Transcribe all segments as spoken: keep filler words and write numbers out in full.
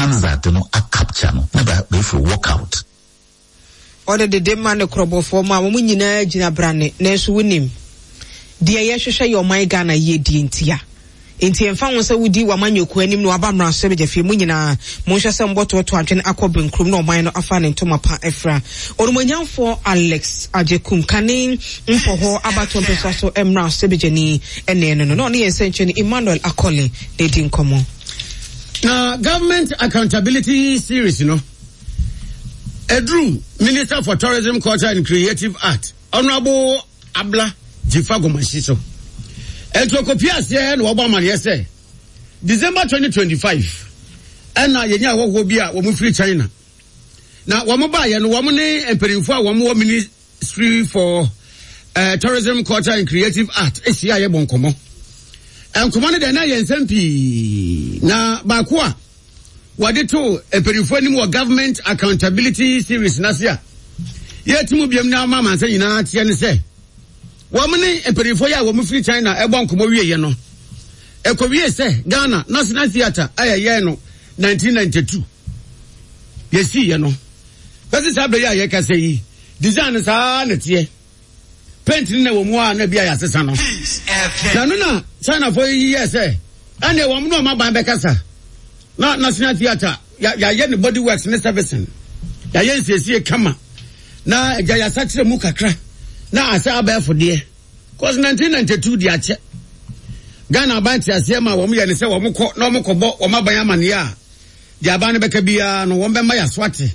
Hansard no a capture no na bɛfiri walk out. Ɔde dede ma ne korɔbɔfoɔ ma wɔn nyinaa gyina brane, nanso wonim deɛ yɛhwehwɛ yɛ ɔman Ghana yie die ntia. Nti ɛmfa ho sɛ wodi w'amanyɔkuo anim na waba mmarahyɛbadwafie mu nyinaa, monhwɛ sɛ mbɔtoɔto adwene akɔ benkurom na ɔman no afa ne ntoma pa afira. Onumonyamfoɔ Alex Agyekum kane mpɔhɔ abatoɔ mpɛsua so mmarahyɛbadwani ɛne no no na ɔne yɛn nsɛnkyerɛni Emmanuel Akɔle na edi nkɔmmɔ. Na Government Accountability Series no eduru Minister for Tourism, Culture and Creative Art, Honourable Abla Dzifa Gomashie so. Ɛnti okopia aseɛ na wɔbɔ amaneɛ sɛ December twenty twenty-five ɛna yɛnya ahɔhoɔ bi a wɔn firi China, na wɔn baayɛ no, wɔn ne mpanimfoɔ a wɔn wɔ Ministry for uh, Tourism, Culture and Creative Art ahyia a yɛbɔ nkɔmɔ. Nkɔmɔ no deɛ, na yɛ nsɛm pii, na baako a wɔde to mpanimfoɔ anim wɔ Government Accountability Series n'ase a yɛti mu biam na ama amansa nyinaa teɛ ne sɛ wɔn ne mpanimfoɔ yi a wɔn firi China ɛbɔ nkɔmɔ wieɛ no, ɛkɔwie sɛ Ghana National Theatre a yɛyɛ no nineteen ninety-two yɛsiiɛ no, bɛsi saa bɛyɛ a yɛkasa yi, design saa na teɛ, paint no na wɔ mu a na bi a yɛasesa no. Na no na Chinafoɔ yi yɛ sɛ ɛnna wɔn no ɔmo aban bɛkasa na National Theatre yɛayɛ ne body works ne servicing, yɛayɛ nsiesie kama na agya yɛasakyerɛ mu kakra na asɛ abɛɛfo deɛ, cause nineteen ninety-two di akyɛ. Ghana aban te aseɛ ma wɔn yɛ ne sɛ wɔn kɔ na wɔn kɔbɔ wɔn aban amaneɛ a, deɛ aban no bɛka biara no, wɔn bɛma yɛaso ate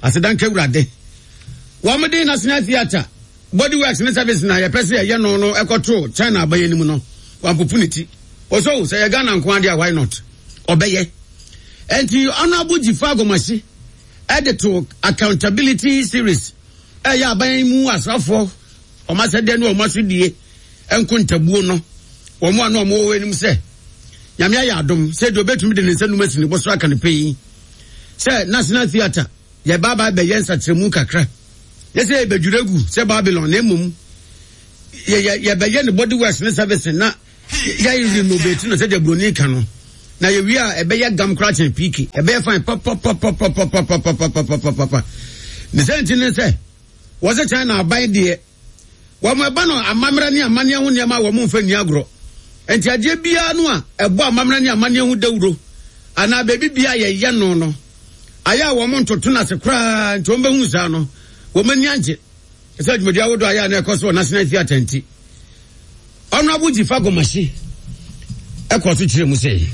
asedanka Awurade. Wɔn de National Theatre body works ne service na yɛpɛ sɛ yɛyɛ no no ɛkɔto China aban anim no, wɔampopo ne ti. Wɔsɔ sɛ yɛ Ghana nko adeɛ a, why not, ɔbɛyɛ. Nti Honourable Dzifa Gomashie ɛde to accountability series ɛyɛ aban mu asrafoɔ ɔmo asɛdeɛ ne ɔmo asodie nkontabuo no, wɔn a na ɔmo wɔ anim sɛ Nyame ayɛ adom sɛ deɛ obetumi de ne nsa num asi ne bɔ so aka ne pɛ yi sɛ National Theatre yɛba aba bɛyɛ nsakyerɛmu kakra, yɛ sɛ yɛbɛdwira gu sɛ Babylon, na mmom yɛbɛyɛ ne body works ne service na yɛyɛ renovate no sɛdeɛ buroni ka no, na yɛwie a ɛbɛyɛ gam koraa kyɛn P K, ɛbɛyɛ fine papapapapapapapapapapa. Ne sɛ nti ne sɛ wɔsɛ China aban deɛ, wɔn ɛba no amammerɛ ne amanneɛ ho nneɛma a wɔn mfa nni agorɔ, nti adeɛ biara no a ɛbɔ amammerɛ ne amanneɛ ho dawuro anaa beebi biara yɛyɛ no no ayɛ a wɔn ntoto no ase koraa. Nti wɔn bɛhu saa no, wɔn ani agye sɛ dwumadi ahodoɔ ayɛ a na ɛkɔ so wɔ National Theatre. Nti Honourable Dzifa Gomashie ɛkɔ so kyerɛ mu sɛ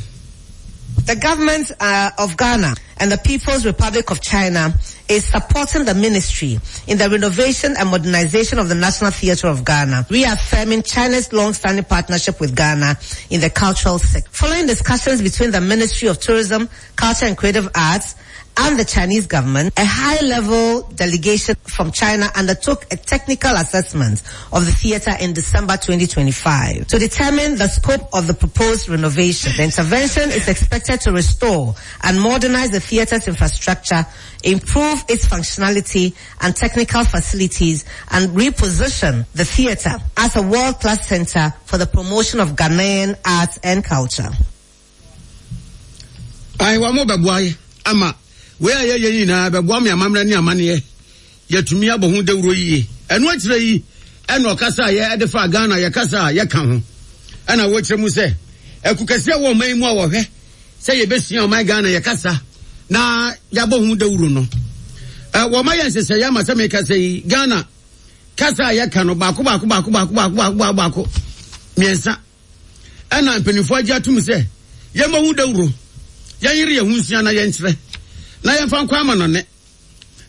The government uh, of Ghana and the People's Republic of China is supporting the ministry in the renovation and modernization of the National Theatre of Ghana, reaffirming China's long-standing partnership with Ghana in the cultural sector. Following discussions between the Ministry of Tourism, Culture and Creative Arts and the Chinese government, a high-level delegation from China undertook a technical assessment of the theater in December twenty twenty-five to determine the scope of the proposed renovation. The intervention is expected to restore and modernize the theater's infrastructure, improve its functionality and technical facilities, and reposition the theater as a world-class center for the promotion of Ghanaian arts and culture. Ayi, wɔn mo bɛboa yɛ ama wei a yɛyɛ nyinaa bɛboa me amammerɛ ne amanneɛ yɛtumi abɔ ho dawuro yie. Ɛno akyerɛ yi ɛna ɔkasa a yɛde fa Ghana yɛkasa a yɛka ho, ɛna wɔkyerɛ mu sɛ ɛku kɛseɛ wɔ ɔman yi mu a wɔhwɛ sɛ yɛbɛsua ɔman Ghana yɛkasa na yɛabɔ ho dawuro no, ɛ wɔma yɛ nhyehyɛeɛ ama sɛ mekasa yi, Ghana kasa a yɛka no baako baako baako baako baako baako baako baako mmiɛnsa, ɛna mpanimfoɔ agye atum sɛ yɛmmɔ ho dawuro, yɛnyere yɛn ho nsua na yɛnkyerɛ na yɛmfa nkɔ ama no ne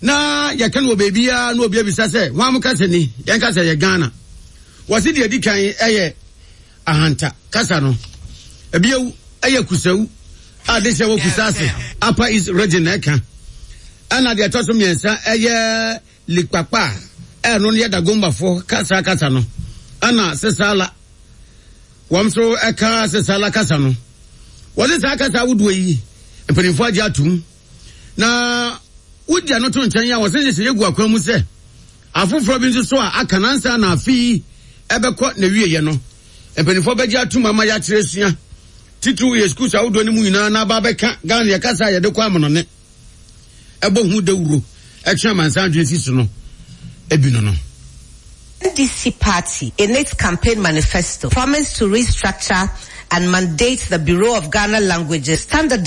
na yɛka no wɔ beebiara na obi abisa sɛ wɔn mo kasa ni, yɛn kasa yɛ Ghana. Wɔsi deɛ di kan ɛyɛ Ahanta kasa no, ebiewu ɛyɛ Kusawu a de hyɛ wɔ Kusase, Upper East Region na ɛka, ɛna deɛ ɛtɔ so mmiɛnsa ɛyɛ Likpakpa a ɛno no yɛ Dagombafoɔ kasa kasa no, ɛna Sesala wɔn nso ɛka Sesala kasa no. Wɔde saa kasa ahodoɔ yi, mpanimfoɔ agye atum na wodi ano to nkyɛn a wɔsɛ nhyehyɛ gu akwan mu sɛ afoforɔ bi nso so a aka nansa na afe yi ɛbɛkɔ na wieɛ no, mpanimfoɔ bɛgye atum ama yɛakyerɛ sua Titiriw yɛ schools ahodoɔ no mu nyinaa na aba abɛka Ghana yɛ kasa a yɛde kɔ amanɔne ɛbɔ ho dawuro ɛtwe amansan adwene si so no ebi no no. N D C party, in its campaign manifesto, promised to restructure and mandate the Bureau of Ghana Languages standardize